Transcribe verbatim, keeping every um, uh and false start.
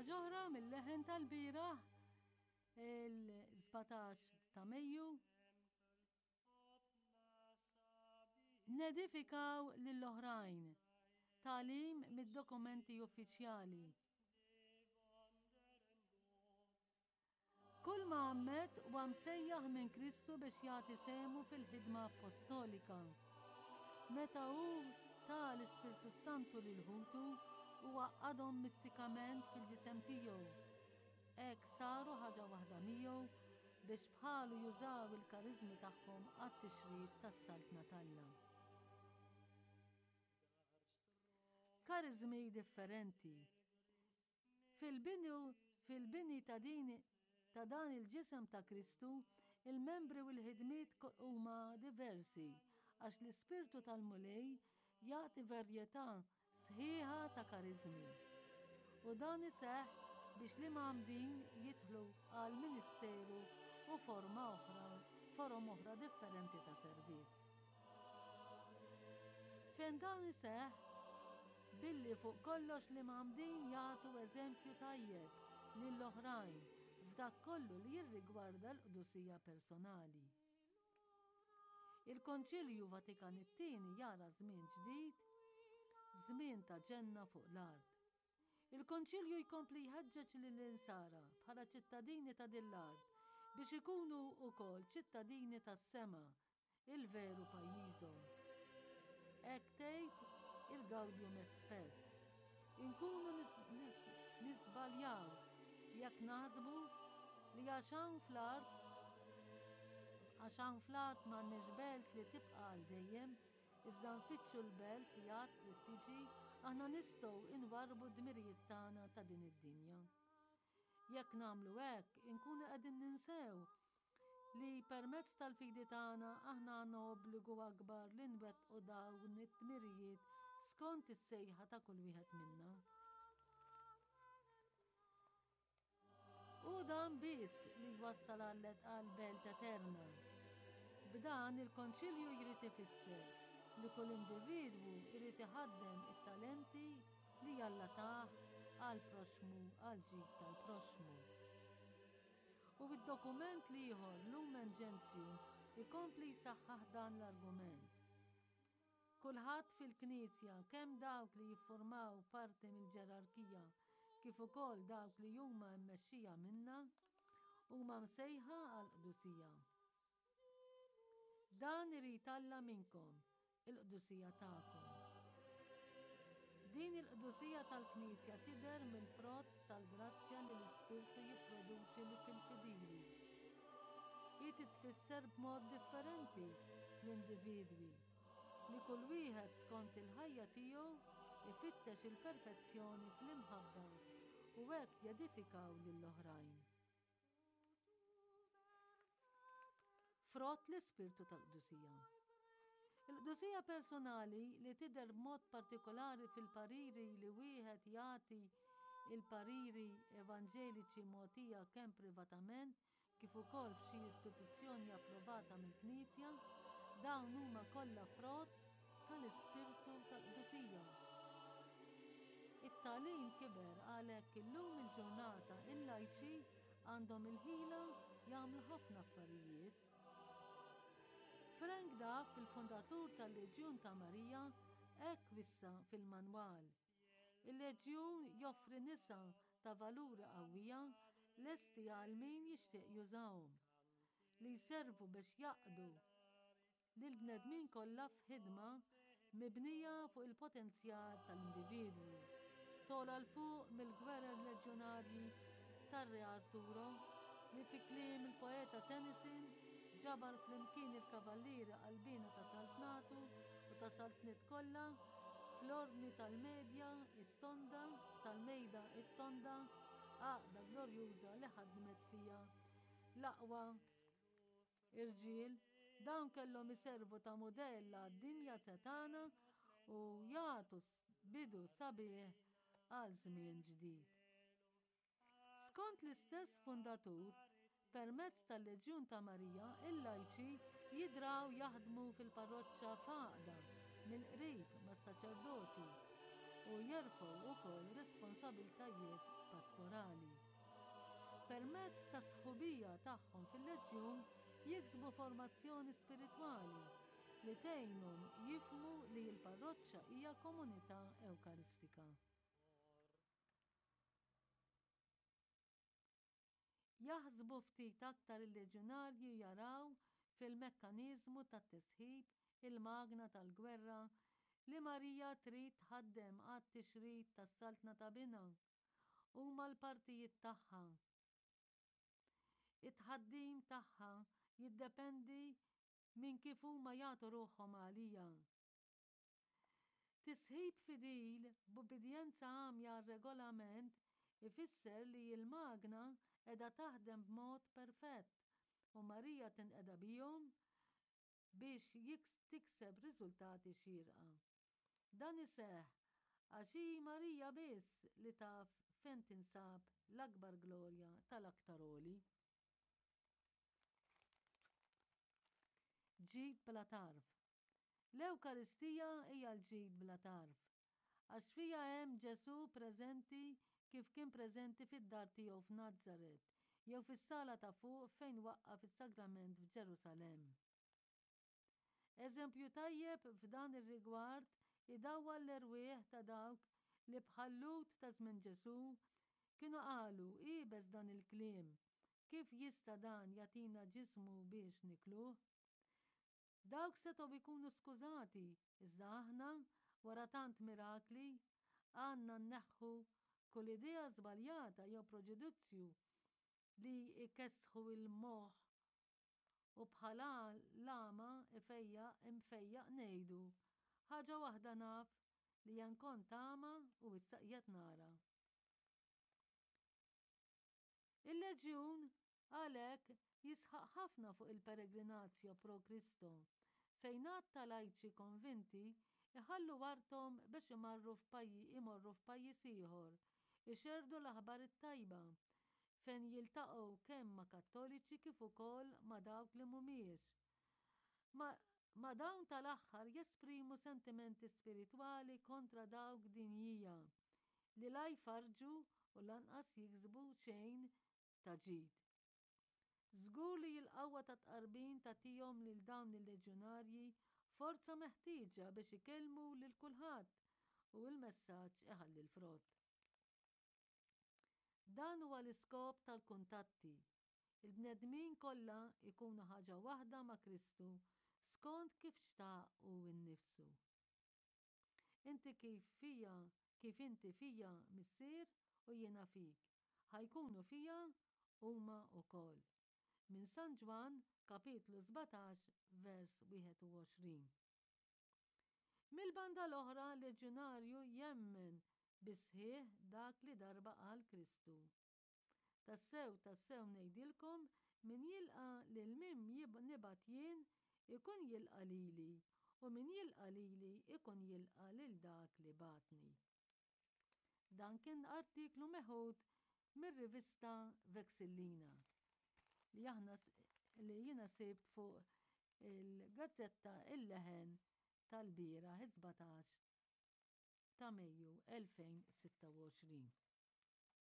Ħaġa oħra mill-leħen tal-bieraħ il-sbatax ta' Mejju. Nedifikaw lill-oħrajn. Tagħlim mid-dokumenti uffiċjali. Kull mgħammed huwa msejjaħ minn Kristu biex jagħti sehmu fil-ħidma appostolika. Meta hu ta l-Ispirtu s-Santu lil ħutu, hu għaqqadhom mistikament fil-ġisem tiegħu. Hekk saru ħaġa waħda miegħu biex bħalu jużaw il-kariżmi tagħhom għat-tixrid tas-Saltna t'Alla. Kariżmi differenti. Fil-bidu, fil-bini ta' din ta' dan il-ġisem ta' Kristu, il-membri u l-ħidmiet huma diversi għax l-Ispirtu tal-Mulej jagħti varjetà sħiħa ta' kariżmi. U dan iseħħ biex l-imgħammdin jidħlu għal ministeru u forma oħra, forom oħra differenti ta' servizz. Fejn dan iseħħ, billi fuq kollox l-imgħammdin jagħtu eżempju tajjeb lill-oħrajn f'dak kollu li jirrigwarda l-qdusija personali. Il-Konċilju Vatikan it-Tieni jara żmien ġdid, żmien ta' ġenna fuq l-art. Il-Konċilju jkompli jħeġġeġ lill-insara bħala ċittadini ta' din l-art biex ikunu wkoll ċittadini tas-sema, il-veru pajjiżhom. Hekk tgħid il-Gaudium et Spes. Inkunu niżbaljaw jekk naħsbu li għax hawn fl-art għax hawn fl-art m'għandniex belt li tibqa' għal dejjem, iżda nfittxu l-belt li għad trid tiġi, aħna nistgħu inwarrbu d-dmirijiet tagħna ta' din id-dinja. Jekk nagħmlu hekk, inkunu qegħdin ninsew li permezz tal-fidi tagħna aħna għandna obbligu akbar li nwettqu dawn it-tmirijiet skont is-sejħa ta' kull wieħed minna. U dan biss li jwassal għal belt eterna. B'dan il-Konċilju jrid ifisser li kull individwu jrid iħaddem it-talenti li Alla tah għall-proxxmu, għall-ġid tal-proxxmu. U id-dokument l-ieħor Lumen Gentium ikompli jsaħħaħ dan l-argument. Kulħadd fil-Knisja, kemm dawk li jiffurmaw parti mill-ġerarkija kif ukoll dawk li huma mmexxija minnha, huma msejħa għall-qdusija. Dan irid Alla minnkom, il-qdusija tagħkom. Din il-qdusija tal-Knisja tidher mill-frott tal-grazzja li l-Ispirtu jipproduċi li fil-fidili. Hi titfisser b'mod differenti fl-individwi, li kull wieħed skont il-ħajja tiegħu ifittex il-perfezzjoni fl-imħabba u hekk jedifikaw lill-oħrajn. Frott l-Ispirtu tal-qdusija. Il-qdusija personali li tidher b'mod partikolari fil-pariri li wieħed jagħti, il-pariri evanġeliċi mogħtija kemm privatament kif ukoll f'xi istituzzjoni approvata mill-Knisja, dawn huma kollha frott tal-Ispirtu tal-qdusija. It-tagħlim kiber għalhekk illum il-ġurnata il-lajċi għandhom il-ħila jagħmlu ħafna affarijiet. Frank Duff, il-fondatur tal-Leġjun ta' Marija, hekk wissa fil-manwal. Il-Leġjun joffri nisa ta' valuri qawwija lesti għal min jixtieq jużahom, li jservu biex jaqdu lill-bnedmin kollha f'ħidma mibnija fuq il-potenzjal tal-individwu. Togħla 'l fuq mill-gwerer leġjonarji tar-Re Arturo li fi kliem il-poeta Tennyson ġabar flimkien il-kavallieri qalbiena ta' saltnatu u ta' saltniet kollha fl-ordni tal-medja it-tonda tal-mejda it-tonda, għaqda glorjuża li ħadmet fiha l-aqwa irġiel. Dawn kellhom iservu ta' mudell għad-dinja setgħana u jagħtu bidu sabiħ għal żmien ġdid. Skont l-istess fundatur, permezz tal-Leġjun ta' Marija, il-lajċi jidraw jaħdmu fil-parroċċa f'għaqda mill-qrib mas-saċerdoti u jerfgħu wkoll responsabiltajiet pastorali. parrokkjali. Permezz tas-sħubija tagħhom fil-Leġjun jiksbu formazzjoni spiritwali li tgħinhom jifhmu li l-parroċċa hija komunità Ewkaristika. Jaħsbu ftit aktar il-leġjonarji jaraw fil-mekkaniżmu tat-tisħib il-magna tal-gwerra li Marija trid tħaddem għat-tixrid tas-saltna ta' Binha. Huma l-partijiet tagħha. It-tħaddim tagħha jiddependi minn kif huma jagħtu ruħhom għaliha. Tisħib fidil b'ubbidjenza għamja għar-regolament ifisser li l-magna qiegħda taħdem b'mod perfett u Marija tinqeda bihom biex tikseb riżultati xierqa. Dan iseħħ għax hi Marija biss li taf fejn tinsab l-akbar glorja tal-Aktar Għoli. Ġid bla tarf. L-Ewkaristija hija l-ġid bla tarf, għax fiha hemm Ġesù preżenti kif kien preżenti fid-dar tiegħu f'Nazaret jew fis-sala ta' fuq fejn waqqaf is-sagrament f'Ġerusalemm. Eżempju tajjeb f'dan ir-rigward idawwal l-erwieħ ta' dawk li bħal-Lhud ta' żmien Ġesù kienu qalu iebes dan il-kliem, kif jista' dan jagħtina ġismu biex nikluh? Dawk setgħu jkunu skużati, iżda aħna, wara tant mirakli, għandna nneħħu kull idea żbaljata jew proġudizzju li jkessħu l-moħħ u bħala l-għama ifejjaq imfejjaq ngħidu, ħaġa waħda naf li jien kont agħma u issa qiegħed nara. Il-Leġjun għalhekk jisħaq ħafna fuq il-peregrinatio pro Christo, fejn għadd ta' lajċi konvinti iħallu arthom biex imarru imorru f'pajjiż ieħor, ixerrdu l-aħbar it-tajba, fejn jiltaqgħu kemm ma' Kattoliċi kif ukoll ma' dawk li mhumiex. Ma', ma' dawn tal-aħħar jesprimu sentimenti spiritwali kontra dawk dinjija, li la jfarrġu u lanqas jiksbu xejn ta' ġid. Żgur li l-qawwa tat-tqarbin tagħtihom lil dawn il-leġjonarji forza meħtieġa biex ikellmu lil kulħadd u l-messaġġ iħalli l-frott. Dan huwa l-iskop tal-kuntatti. Il-bnedmin kollha jkunu ħaġa waħda ma' Kristu skont kif xtaq hu nnifsu. Inti kif fija, kif inti fija Missier u jiena fik, ħa jkunu fija huma wkoll. Minn San Ġwann, kapitlu sbatax, vers wieħed u għoxrin. Mill-banda l-oħra, l-leġjonarju jemmen bis-sħiħ dak li darba qal Kristu. Tassew, tassew ngħidilkom, min jilqa' lil min nibgħat jien, ikun jilqa' lili, u min jilqa' lili ikun jilqa' lil dak li bagħatni. Dan kien artiklu meħud mir-rivista Vexillina li aħna li jiena sibt fuq il-gazzetta Il-Leħen tal-bieraħ is-sbatax ta' Mejju elfejn sitta u għoxrin.